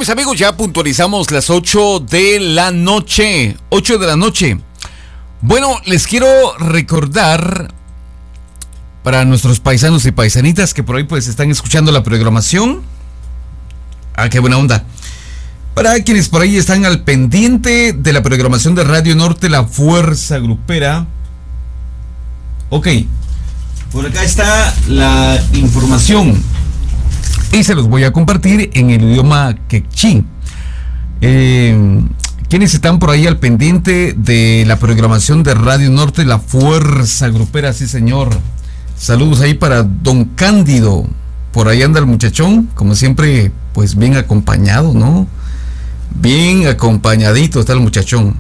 Bueno, mis amigos, ya puntualizamos las 8 de la noche. 8 de la noche. Bueno, les quiero recordar para nuestros paisanos y paisanitas que por ahí pues están escuchando la programación. Ah, qué buena onda. Para quienes por ahí están al pendiente de la programación de Radio Norte, la Fuerza Grupera. Ok, por acá está la información y se los voy a compartir en el idioma quechí. Quienes están por ahí al pendiente de la programación de Radio Norte, la Fuerza Grupera, sí señor. Saludos ahí para don Cándido. Por ahí anda el muchachón, como siempre, pues bien acompañado, ¿no? Bien acompañadito está el muchachón.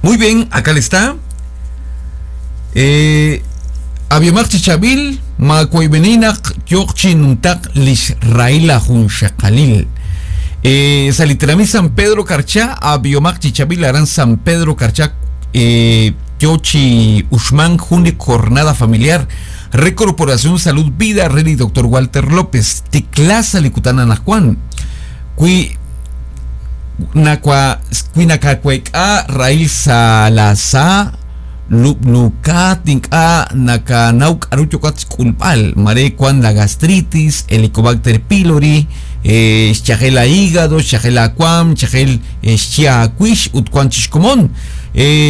Muy bien, acá le está. Abiomar Chichabil, Macuaybeninaq, Yoqchinuntak, Lishraila Junxakalil. Salitrami San Pedro Carchá, Abiomar Chichabil, Arán San Pedro Carchá, Yochi Uxman, Juni, Jornada Familiar, Recorporación Salud Vida, Rey Doctor Walter López, Ticlasa Licutana Najuan, Cui Cuinacacueca, Raíl Salazá, Lupnuka, Tinka, Nakanauk, Aruchocat, Culpal, Mare, Cuan, la gastritis, Helicobacter pylori, Chajela hígado, Chajela cuam, Chajel Chiacuish, Utcuan Chishcomón,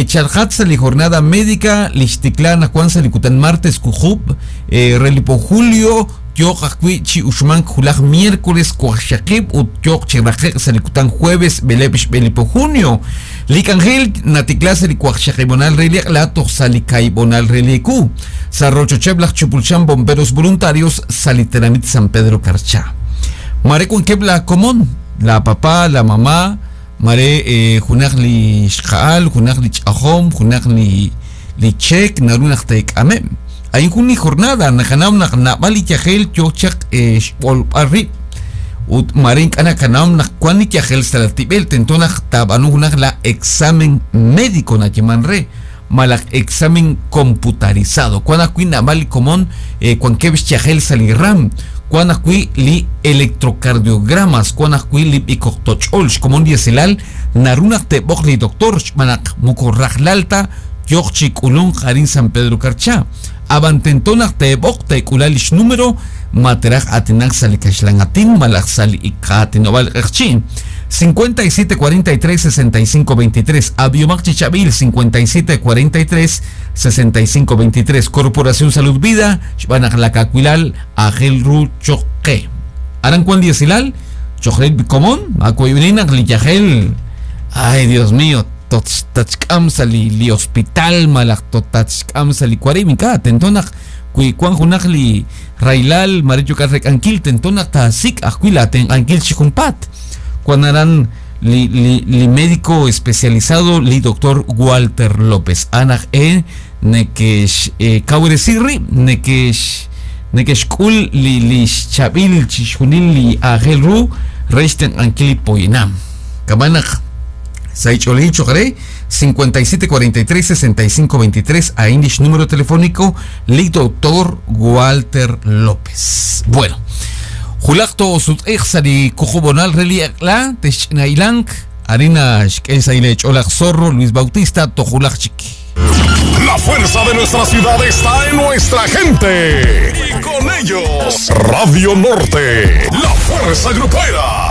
Charjatza, li jornada médica, Lixticlana, Juan Salicutan martes, Cujub, Relipo Julio, Yoc Chi Uxman, Julaj miércoles, Cuaxaquib, Ut Yoc Chiraje, Salicutan jueves, Belepish, Belipo junio. Licangel, Naticlasa, Licuaxaquibonal, Reliac, Lato, Salicaibonal, Relicu, Sarrocho Cheblach, Chupulchan, Bomberos Voluntarios, Saliteramit, San Pedro Carchá. Mare con Kebla Comón, la papá, la mamá, mare Junaj li Xaal, Junaj li Chajom, Junaj li Chek, Narunaj Tek Amem. Hay una jornada, Najanam, Nabali Yajel, Yochak, Xpolparri, Ut Marín, Anakanam, Nakuani Yajel, Salatibel, Tentonaj, Tabanunaj, la examen médico, Nachimanre, Malak examen computarizado. Cuanakui Nabali Comón, Cuankevish Yajel Saliram, Cuanakui li electrocardiogramas, Cuanakui li icoctocholch, Comón dieselal, Narunaj Tebogli doctor, Manak Mukorrajlalta, Yochik Ulun, Jarín San Pedro Carchá. Abantentonaj tebok tekulalish número materaj atinaj salikashlangatin malaj sali ikatinoval erchin 57 43 65 23 Abiomac Chichabil 57 43 65 23 Corporación Salud Vida Xbanaj Lacacuilal Ajel Ru Choque Arancuan Diesilal Chojel Comón Acuayuninaj Liyajel. Ay, Dios mío, tachkam sali li hospital malak tachkam sali cuarimika tentonaj kui kuan junaj li railal maricho karrek ankil tentonaj tasik ajuila ten ankil chijumpat cuando li, li, li médico especializado li doctor Walter López anaj e nekesh kauresirri nekesh nekesh kul li li chabil chijunil li ajel ru rechten ankil poinam kamanaj Saicholicho 57 43 65 23 a Indish número telefónico li doctor Walter López. Bueno, Julacto sutexari cujubonal reliakla technailank harina xkesailech olak zorro Luis Bautista tojulachik. La fuerza de nuestra ciudad está en nuestra gente. Y con ellos, Radio Norte, la fuerza grupera.